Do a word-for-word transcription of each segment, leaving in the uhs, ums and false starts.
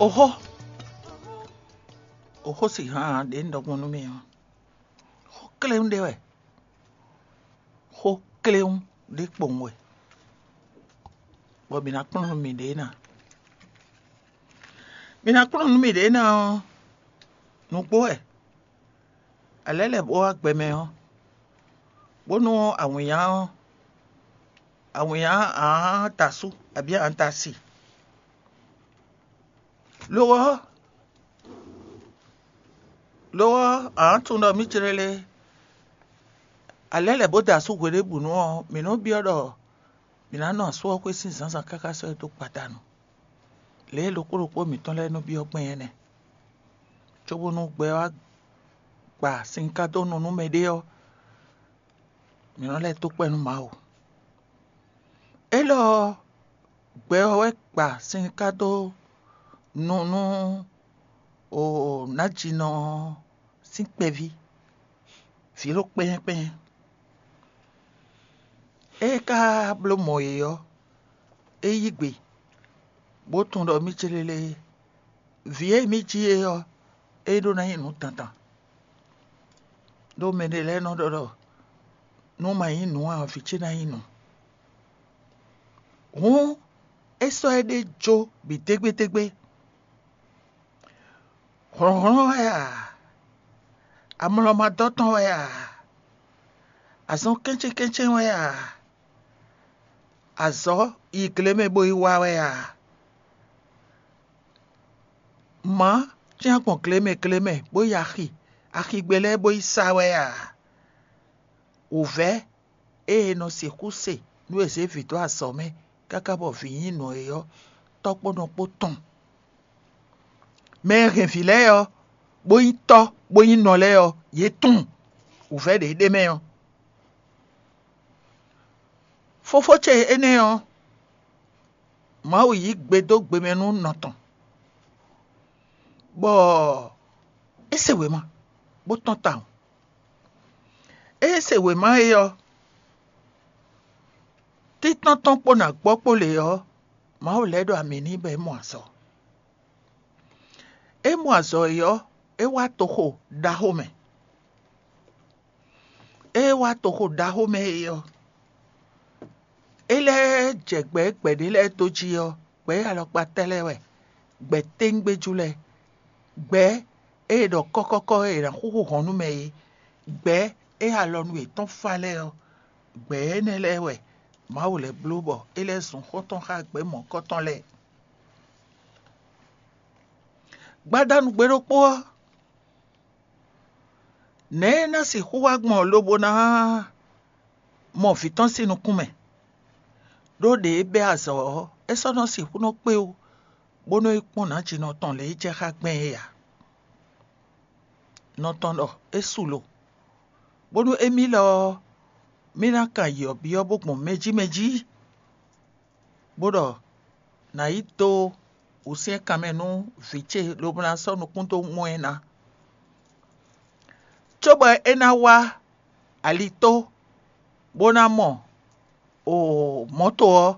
Oxó, oxó si hán ɖě un ɖɔ gbɔn nú mi ɔ́, xó kléwún ɖé wɛ, xó kléwún ɖé kpowun wɛ, bɔ mǐ ná kplɔ́n nú miɖée ná. Mǐ ná kplɔ́n nú miɖée ná ɔ́, nǔgbó wɛ. Alɛ̌ lɛ́ bó wá gbɛ mɛ ɔ́, bónú awǐnnya ɔ́, awǐnnya ǎ ta asú abǐ ǎ ta asi. Lo ɔ́, lo ɔ́, ǎ tunwun ɖɔ mǐ jlé lé, alɛ̌ lɛ́ bó da asú hweɖěbǔnu ɔ́, mǐ nɔ́ byɔ́ ɖɔ mǐ ná nɔ asú ɔ́ xwé sín zǎnzǎn káká sɔ́ ɛ dó gbadanu. Lě e ɖokpó ɖokpó mǐtɔn lɛ́ɛ nɔ byɔ́ gbɛn é nɛ́. Cóbónú gbɛ ɔ́ wá gba sin ká dó nu nú mɛɖé ɔ́, mǐ nɔ́ lɛ́ dó kpɛ́ nú Mawu. Élɔ́ ɔ́, gbɛ ɔ́ wɛ gba sin ká dó nu nú nǎjínɔ ɔ́ sín kpɛví, vǐ ɖo kpɛ́nyɛ́kpɛ́nyɛ́. É ka bló mɔ yě ɔ́, é yí gbe, bó tunwun ɖɔ mí célélé vǐ e mí jí é ɔ́, é ɖó ná nyí nǔ dandan. Ɖó mɛ ɖé lɛ́ɛ nɔ ɖɔ ɖɔ nú ma nyí nǔ ǎ, vǐ ce ná nyí nǔ. Hǔn é sɔ́ éɖée jó bǐ dégbédégbé. Hlɔ̌nhlɔ́n wɛ a? Amlɔmadɔ́tɔn wɛ a? Azɔn kɛ́nchɛ́nkɛ́nchɛ́n wɛ a? Azɔ̌ yi gle mɛ bó yi wa wɛ a? Mǎ cyán gbɔn gle mɛ gle mɛ bó yi axi, axigbe lɛ́ɛ bó yi sa wɛ a? Wǔvɛ́ e è nɔ sixú se nú è zě vǐ dó azɔ̌ mɛ káká bɔ vǐ nyí nǔ é ɔ́, tɔ́ kpó nɔ kpó tɔn. Mɛ e hɛn vǐ lɛ́ɛ ɔ́, bó nyí tɔ́, bó nyí nɔ lɛ́ɛ ɔ́, yě tunwun wǔvɛ́ ɖě ɖ'é mɛ ɔ́. Fofó ce énɛ́ ɔ́, Mawu yí gbe dó gbe mɛ nú nɔ tɔn, bɔ é se wěma, bó tɔ́n tawun. Ée é se wěma é ɔ́, títɔ́n tɔn kpó nǎ gbɔ kpó lě ɔ́, Mawu lɛ́ ɖo amǐ n'i bɔ é mɔ azɔ̌. É mɔ azɔ̌ é ɔ́, é wá toxo ɖaxó mɛ. Ée é wá toxo ɖaxó mɛ é ɔ́, é lɛ́ jɛ gbɛ e gbɛ̌ ɖé lɛ́ɛ dó jí ɔ́, gbɛ̌ e alɔkpa tɛ́ lɛ́ɛ wɛ, gbɛ̌ téŋgbéjú lɛ́ɛ, gbɛ̌ e è ɖɔ kɔ́kɔ́kɔ́ e è nǎ xúxú hɔn nú mɛ é, gbɛ̌ e alɔnu yětɔn fá lɛ́ɛ ɔ́, gbɛ̌ énɛ́ lɛ́ɛ wɛ Mawu lɛ́ bló bɔ é lɛ́ zun xɔ́ntɔn xá gbɛ̌ mɔ̌kɔ́tɔn lɛ́ɛ. Gbadanu gbe ɖokpó ɔ́, nɛ̌ é ná sixú wá gbɔn lobo ná mɔ vǐ tɔn sín nukún mɛ? Ɖó ɖě é bɛ́ azɔ̌ ɔ́, é sɔ́ nɔ sixú nɔ kpé wú, bónú é kpɔ́n nǎjinɔ tɔn lě e jɛ xá gbɛn é ǎ. Nɔ tɔn ɖɔ é su lo, bónú émí lɔ ɔ́, mí ná kan yi ɔ̌ byɔ́ bó gbɔn mɛ jí mɛ jí, bó ɖɔ nǎ yi dó wǔsyɛ́nkan mɛ nú vǐ ce lobo ná sɔ́ nukún dó mɔ ɛ ná, cóbɔ é ná wá alitó bó ná mɔ o mɔ̌to ɔ́,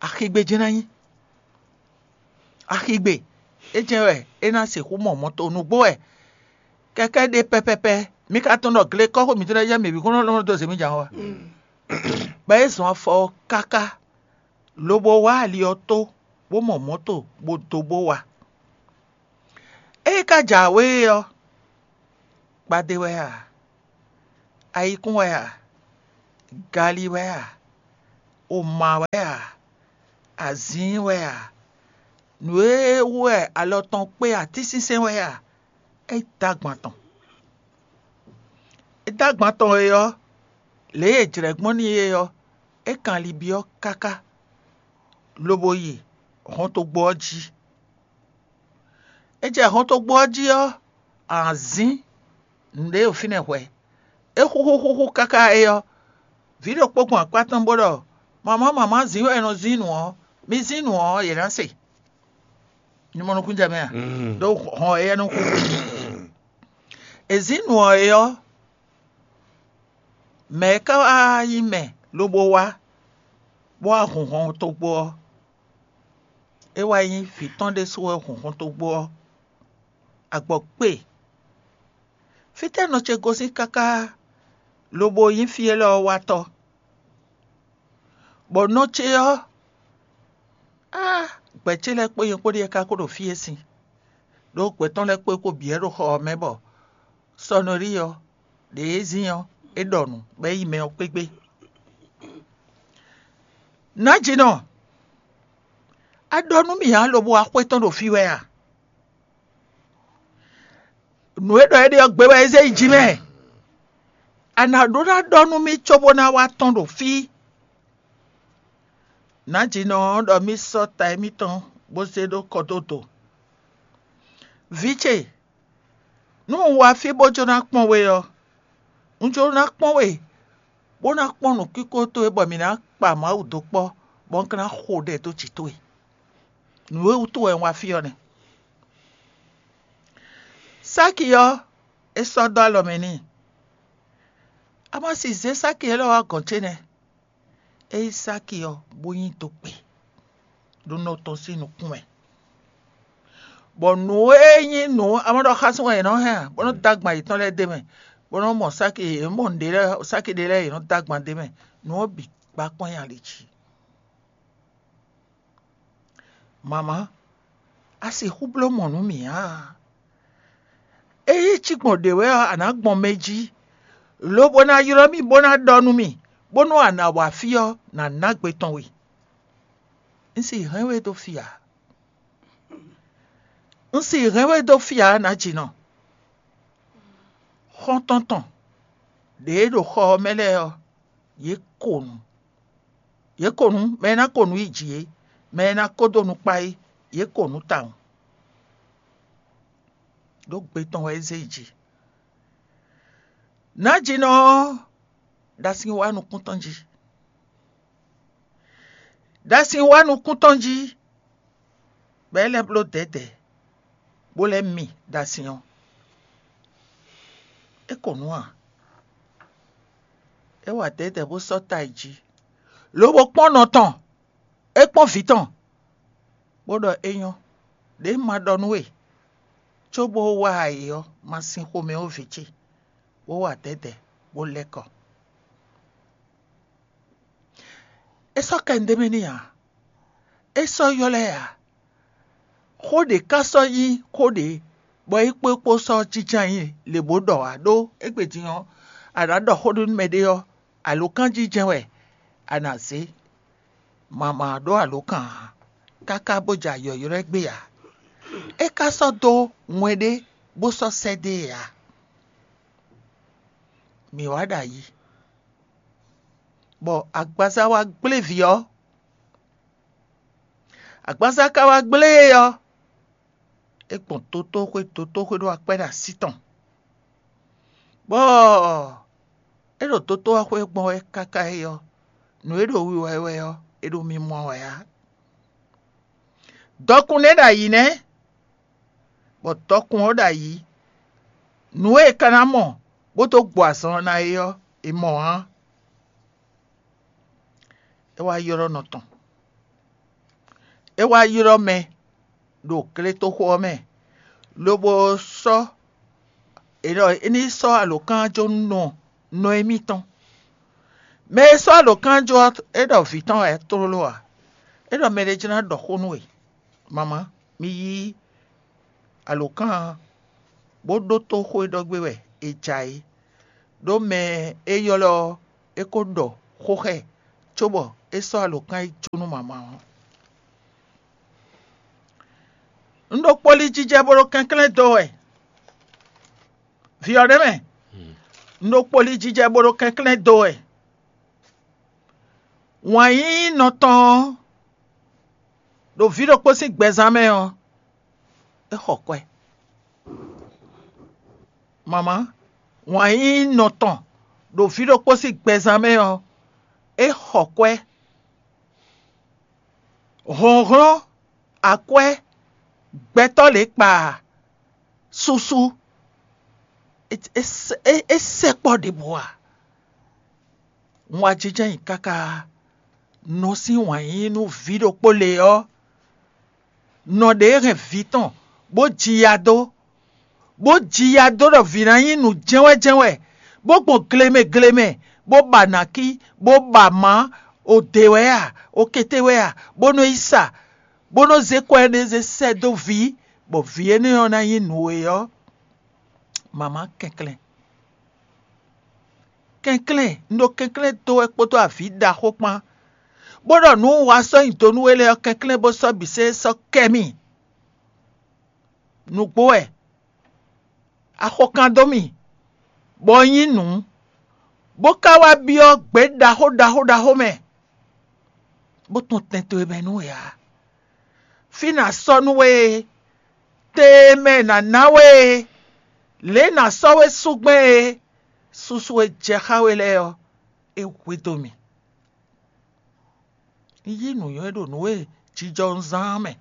axigbe jɛ́n ná nyí. Axigbe é jɛ́n wɛ é ná sixú mɔ mɔ̌to. Nǔgbó wɛ kɛkɛ́ ɖe pɛpɛpɛ, mi ka tunwun ɖɔ gle kɔ́xo mǐtɔn lɛ́ɛ jɛ́n mǐ bǐ kún nɔ lɔn dó zě mì jǎn wá. Bɔ é zɔn afɔ ɔ́ káká, lobo wá ali ɔ́ tó, bó mɔ mɔ̌to bó dó bó wá. Ée é ka jǎwe é ɔ́, gbadé wɛ a? Ayikún wɛ a? Gali wɛ a? Oma wɛ a? Azǐin wɛ a? Nǔ e wú wɛ alɔ tɔn kpé atínsínsɛ́n wɛ a? É dó agban tɔn. É dó agban tɔn e ɔ́, lě e è jlɛ̌ gbɔn n'i é ɔ́, é kan ali byɔ́ káká, lobo yi hɔntogbó ɔ́ jí. É jɛ hɔntogbó ɔ́ jí ɔ́, azǐn nǔɖé ɖo fínɛ́ hwɛ̌. É xúxú xúxú káká é ɔ́, vǐ ɖokpó gbɔn akpá tɔn bó ɖɔ: "Mamá, mamá, zǐn wɛ è nɔ zín nǔ ɔ́, mi zín nǔ ɔ́, yě ná se." Ní mɔ nukúnjɛ mɛ a? Ɖó hɔn éyɛ́ nɔ xúxú. È zín nǔ ɔ́ é ɔ́, mɛ̌ ká wá nyí mɛ lobo wá, bó wá hun hɔntogbó ɔ́? É wá nyí vǐ tɔn ɖésú wɛ hun xɔntogbó ɔ́, agbɔ̌ kpe. Fítɛ́ nɔ ce gosín káká lobo nyí fí élɔ́ ɔ́ watɔ́? Bɔ nɔ ce ɔ́, á, gbɛ̌ ce lɛ́ɛ kpó nyɛ kpó ɖíe ka ko ɖo fí e sin, ɖó gbɛ̌ tɔn lɛ́ɛ kpó é kó bǐ wɛ ɖo xɔ ɔ́ mɛ bɔ sɔnɔlí ɔ́, ɖě e zín ɔ́, é ɖɔ nǔ bɔ é yi mɛ ɔ́ kpégbé. Nǎjínɔ, a ɖɔ nú mì ǎ lobo wá xwé tɔn ɖo fí wɛ a? Nǔ e ɖɔ é ɖe ɔ́ gbe wɛ é zé yi jǐ mɛ. A nǎ ɖó ná ɖɔ nú mì cóbó ná wá tɔ́n ɖo fí. Nǎjínɔ ɔ́ ɖɔ mì sɔ́ ta émítɔn bó zé ɖó kɔdódo. Vǐ ce, nú un wá fí bó jló ná kpɔ́n we ɔ́, un jló ná kpɔ́n we, bó ná kpɔ́n nǔkínkó towe bɔ mǐ ná kpa Mawu dó kpɔ́, bɔ un ka ná xo ɖɛ dó jǐ towe. Nǔ e wútu wɛ un wá fí ɔ́ nɛ́. Sáki ɔ́, é sɔ́ dó alɔ mɛ n'i. A ma si zě sáki élɔ́ wá gɔ̌n ce nɛ́. É yí sáki ɔ́, bó nyi dó kpe ɖo nɔ tɔn sín nukún mɛ. Bɔ nǔ e nyí nǔ amɔ́ɖɔxásún wɛ è nɔ hɛn ǎ, bó nɔ́ dó agban yětɔn lɛ́ɛ d'é mɛ, bó nɔ́ mɔ sáki, yě mɔ nǔɖé lɛ́ɛ, sáki ɖé lɛ́ɛ yě nɔ́ dó agban d'é mɛ. Nǔ ɔ́ bǐ gbá kpɔ́n nyi ali jí. Mama, a sixú bló mɔ̌ nú mì ǎ. Ényí cí gbɔn ɖě wɛ ɔ́, a nǎ gbɔn mɛ jí, lobo ná ylɔ́ mì bó ná ɖɔ nú mì, bónú a nǎ wá fí ɔ́, nǎ ná gbe tɔn we. Un si hɛn we dó fí ǎ. Un si hɛn we dó fí ǎ, nǎjínɔ. Xɔ́ntɔn tɔn ɖě e ɖo xɔ ɔ́ mɛ lɛ́ɛ ɔ́, yě ko nǔ. Yě ko nǔ, mɛ e ná ko nǔ yi jǐ é, mɛ e ná ko dó nukpá é, yě ko nǔ tawun. Ɖó gbe tɔn wɛ é zé yi jǐ. Nǎjínɔ ɔ́ ɖo asin wá nukún tɔn jí. Ɖo asin wá nukún tɔn jí, bɔ é lɛ́ bló dɛ̌dɛ̌, bó lɛ́ mi ɖo asin ɔ́. É ko nǔ ǎ. É wa dɛ̌dɛ̌ bó sɔ́ ta yi jí, lobo kpɔ́n nɔ tɔn, é kpɔ́n vǐ tɔn, bó ɖɔ é nyɔ́, ɖě un ma ɖɔ nú we, cóbó wá ayǐ ɔ́, ma sin xomɛ ó vǐ ce, bó wa dɛ̌dɛ̌, bó lɛ́ kɔ. É sɔ́ kɛ nú ɖ'é mɛ n'i ǎ. É sɔ́ ylɔ́ ɛ ǎ. Xó ɖě ka sɔ́ nyí xó ɖě bɔ é kpó é kpó sɔ́ jínjɔ́n ayǐ lě bó ɖɔ ǎ, ɖó égbé din ɔ́, a nǎ ɖɔ xó ɖé nú mɛɖé ɔ́, alǒkanjijɛ wɛ a nǎ zé. Mama ɖó alǒkan ǎ, káká bó jɛ ayɔ̌ylɔ́ ɛ gbé ǎ. É ka sɔ́ dó wɛn ɖé bó sɔ́ sɛ́ dó e ǎ. Mǐ wá ɖo ayǐ, bɔ agbaza wá gblé vǐ ɔ́. Agbaza ka wá gblé e ɔ́, é gbɔn dotóxwé, dotóxwé ɖó akpɛ́ ɖo así tɔn, bɔ é ɖo dotóxwé gbɔn wɛ káká é ɔ́, nǔ e ɖo wiwa ɛ wɛ ɔ́, é ɖo mimɔ wɛ ǎ. Dɔkun nɛ́ ɖo ayǐ nɛ́, bɔ dɔkun ɔ́ ɖo ayǐ. Nǔ e è ka ná mɔ bó dó gbɔ azɔn ɔ́ ná é ɔ́, è mɔ ǎ. É wá ylɔ́ nɔ tɔn. É wá ylɔ́ mɛ ɖo gletoxo ɔ́ mɛ, lobo sɔ́ è ɖɔ é ní sɔ́ alǒkanjó nú nɔ émí tɔn. Mɛ e sɔ́ alǒkanjó ɔ́, é ɖɔ vǐ tɔn wɛ tlóló ǎ. É ɖɔ mɛɖé jló ná ɖɔ xó nú we. Mama, mi yí alǒkan ɔ́, bó ɖótó xó e ɖɔ gbé wɛ è ja é, ɖó mɛ e ylɔ́ ɔ́, é ko ɖɔ xó xá ɛ, cóbɔ é sɔ́ alǒkan e jó nú mama ɔ́. Un ɖo kpoli jijɛ bó ɖo kɛnklɛ́n do wɛ. Vǐ ɔ́ ɖ'é mɛ. Un ɖo kpoli jijɛ bó ɖo kɛnklɛ́n do wɛ. Wǎn yíyí nɔ tɔn ɔ́, ɖo vǐ ɖokpó sín gbɛzán mɛ ɔ́, é xɔ kwɛ. Mama, wǎn yíyí nɔ tɔn ɖo vǐ ɖokpó sín gbɛzán mɛ ɔ́, é xɔ kwɛ. Hlɔ̌nhlɔ́n, akwɛ́, gbɛtɔ́ lě kpa, susu, é, é, é, é sɛkpɔ́ ɖěbǔ ǎ. Un wá jínjɔ́n ayǐ káká nɔ sín wǎn yíyí nú vǐ ɖokpó lě ɔ́, nɔ ɖě hɛn vǐ tɔn, bó ji ya dó, bó ji ya dó ɖɔ vǐ ná nyí nǔ jɛ́nwɛ́jɛ́nwɛ, bó gbɔn glemɛ glemɛ, bó ba nǎkí, bó ba mǎ, o dě wɛ a, o kété wɛ a, bó nɔ́ yi sa, bó nɔ́ zé kwɛ́ énɛ́ zé sɛ́ dó vǐ, bɔ vǐ énɛ́ ɔ́ ná nyí nǔ e ɔ́, mama kɛnklɛ́n. Kɛnklɛ́n, un ɖo kɛnklɛ́n dó wɛ kpódó avǐ ɖaxó kpán, bó ɖɔ nǔ un wa sɔ́ nyi do nú we lɛ́ɛ ɔ́, kɛnklɛ́n bó sɔ́ bǐ sɛ́ sɔ́ kɛ mì. Nǔgbó wɛ, axɔkan dó mì, bɔ un nyí nǔ, bó ka wá byɔ́ gbě ɖaxó ɖaxó ɖaxó mɛ, bó tunwun tɛn towe mɛ nú we ǎ. Fí nǎ sɔ́ nú we e, te e mɛ è nǎ ná we e, lě e è nǎ sɔ́ we sú gbɛn e, susu e jɛ xá we lɛ́ɛ ɔ́, é hwedó mì. Un yí nǔnywɛ́ ɖo nǔ e jijɔ un zán ɔ́ mɛ.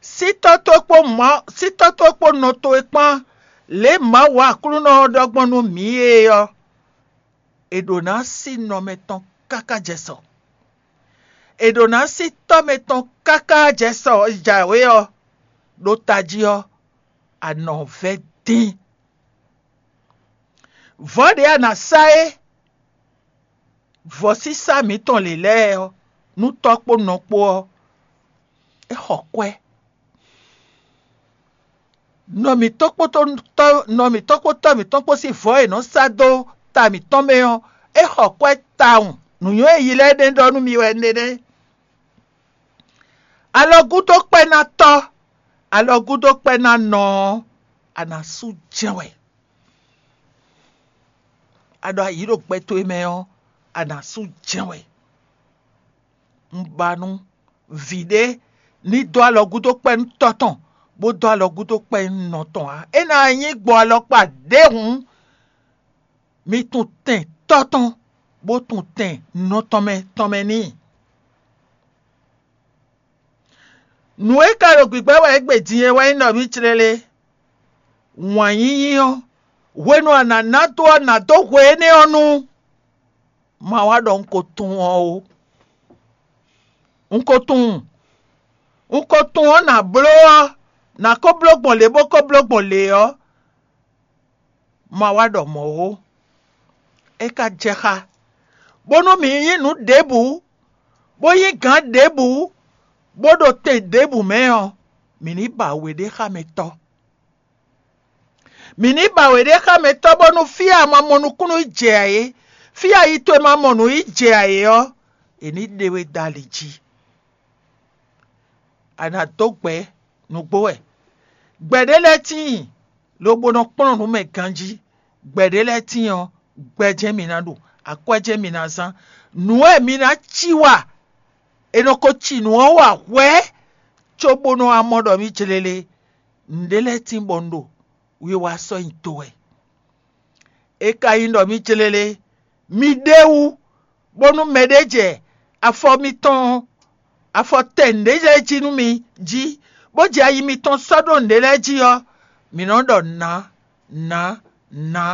Sítɔ́ towe kpó Mawu, sítɔ́ towe kpó nɔ towe kpán, lě e Mawu Aklúnɔ ɔ́ ɖɔ gbɔn nú mǐ é ɔ́, è ɖǒ ná sí nɔ mɛtɔn káká jɛ sɔ. È ɖǒ ná sí tɔ́ mɛtɔn káká jɛ sɔ jǎwe ɔ́, ɖó tají ɔ́, a nɔ vɛ́ dín. Vɔ̌ ɖě a nǎ sá é, vɔ̌sísá mǐtɔn lě lɛ́ɛ ɔ́, nú tɔ́ kpó nɔ kpó ɔ́, é xɔ kwɛ́. Nɔ mǐtɔn kpódó tɔ́ nɔ mǐtɔn kpó tɔ́ mǐtɔn kpó sín vɔ̌ e è nɔ sá dó ta mǐtɔn mɛ ɔ́, é xɔ kwɛ́ tawun. Nǔnywɛ́ e yi lɛ́ɛ ɖe ɖɔ nú mi wɛ nɛnɛ́. Alɔgúdokpɛ́nátɔ́, alɔgúdokpɛ́nánɔ ɔ́, a nǎ sú jɛ́n wɛ. A ɖo ayǐ ɖo gbɛ towe mɛ ɔ́, a nǎ sú jɛ́n wɛ. Un ba nú vǐ ɖé ní dó alɔgúdokpɛ́nú tɔ́ tɔn, bó dó alɔgúdokpɛ́nú nɔ tɔn ǎ. É ná nyí gbɔ alɔkpa ɖěhǔn, mi tunwun tɛn tɔ́ tɔn, bó tunwun tɛn nɔ tɔn mɛ tɔn mɛ n'i. Nǔ e ka ɖo gbǐgbɛ́ wɛ égbé din é wɛ nyí ɖɔ mǐ clélé. Wǎn yíyí ɔ́, hwenu a nǎ ná dó ɔ́, nǎ dó hwe énɛ́ ɔ́ nu. Ma wá ɖɔ un ko tunwun ɔ́ ó. Un ko tunwun. Un ko tunwun ɔ́ nǎ bló ɔ́, nǎ ko bló gbɔn lě bó ko bló gbɔn lě ɔ́, ma wá ɖɔ mɔ̌ ó. É ka jɛ xá, bónú mǐ nyí nǔ ɖěbǔ, bó nyí gǎn ɖěbǔ, bó ɖo te ɖěbǔ mɛ ɔ́, mǐ ní ba we ɖé xá mɛ tɔ́. Mǐ ní ba we ɖé xá mɛ tɔ́ bónú fí e a ma mɔ nukúnnú yi jɛ ǎ é, fí e ayi towe ma mɔ nǔ yi jɛ ǎ é ɔ́, è ní ɖe we dó ali jí. A nǎ dó gbɛ̌ nǔgbó wɛ. Gbɛ̌ ɖé lɛ́ɛ tíin, lobo nɔ kplɔ́n nǔ mɛ ganjí. Gbɛ̌ ɖé lɛ́ɛ tíin ɔ́, gbɛ jɛ́n mi ná ɖu, akwɛ́ jɛ́n mi ná zán. Nǔ e mi ná cí wa, è nɔ ko ci nǔ ɔ́ wa hwɛ̌, cóbónú a mɔ ɖɔ mǐ jlélé. Nǔɖé lɛ́ɛ tíin bɔ un ɖo wiwa sɔ́ nyi do wɛ. É ka nyí ɖɔ mǐ jlélé, mi ɖ'é wú, bónú mɛɖé jɛ afɔ mitɔn afɔ tɛ nǔɖé lɛ́ɛ jí nú mi jí, bó jɛ ayi mitɔn sɔ́ ɖó nǔɖé lɛ́ɛ jí ɔ́, mǐ nɔ́ ɖɔ nǎ, nǎ, nǎ,